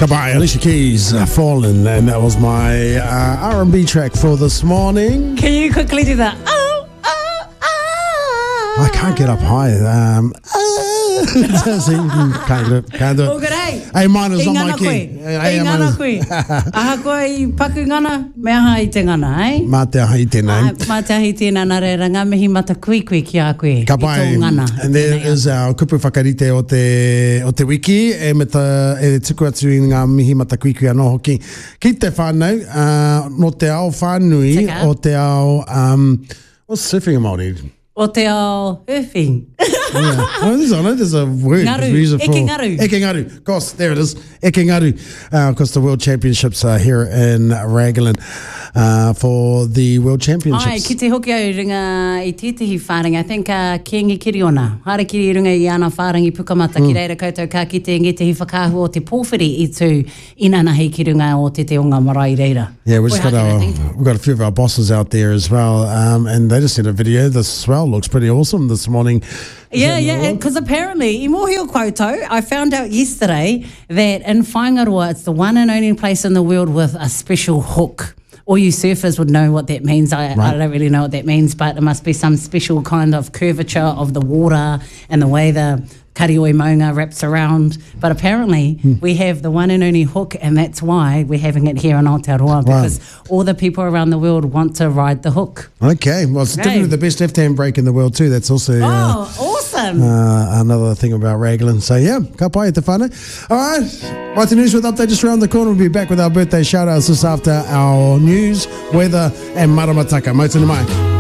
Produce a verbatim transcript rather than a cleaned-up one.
Goodbye, Alicia Keys, uh, Fallen, and that was my uh, R and B track for this morning. Can you quickly do that? Oh, oh, oh. I can't get up high. Um, see, can't do it. Can't do it. Oh, good, hey. A minor is I not my ngana key. koe. A, I A ngana minor. koe. Ahakoa i paku ngana, me aha i te ngana, eh? Mā te aha i tēnei. Ai, mā te aha i tēnā, nā reira, ngā mihi mata kui kui ki a koe. Ka I tō pai. ngana. And there is our kupu whakarite o te, o te wiki, e, me ta, e tuku atu i ngā mihi matakuikui anō hoki. Ki te whānau, uh, no te ao whānui, Tika. o te ao, um, what's surfing in Māori? O te ao surfing. Yeah. Oh, there's, I know there's a word. Ngaru. We use it for- Eke ngaru. Eke ngaru. Of course, there it is. Eke ngaru. Uh, of course, the World Championships are here in Raglan uh, for the World Championships. Ai, ki te hoki au i runga i tētehi whārangi. I think uh, Kingi Kiriona. Haere ki runga i ana whārangi pukamata mm. ki reira koutou ka kite ngētehi whakaahua o te pōwhiri i tū inanahi ki runga o te te onga marae reira. Yeah, we've just got Oi, our, I think. we've got a few of our bosses out there as well, um, and they just sent a video. The swell looks pretty awesome this morning. Is Yeah, that yeah, normal? because apparently, i mōhio koutou, I found out yesterday that in Whaingaroa, it's the one and only place in the world with a special hook. All you surfers would know what that means. I, Right. I don't really know what that means, but it must be some special kind of curvature of the water and the way the Karioi Maunga wraps around. But apparently, Hmm. we have the one and only hook, and that's why we're having it here in Aotearoa, because all the people around the world want to ride the hook. Okay, well, it's definitely Hey. the best left-hand break in the world too. That's also uh, Oh, awesome. uh, another thing about Raglan. So yeah, ka pai te whānau. All right, right, the news with update just around the corner. We'll be back with our birthday shout-outs just after our news, weather and maramataka. Mau tonu mai.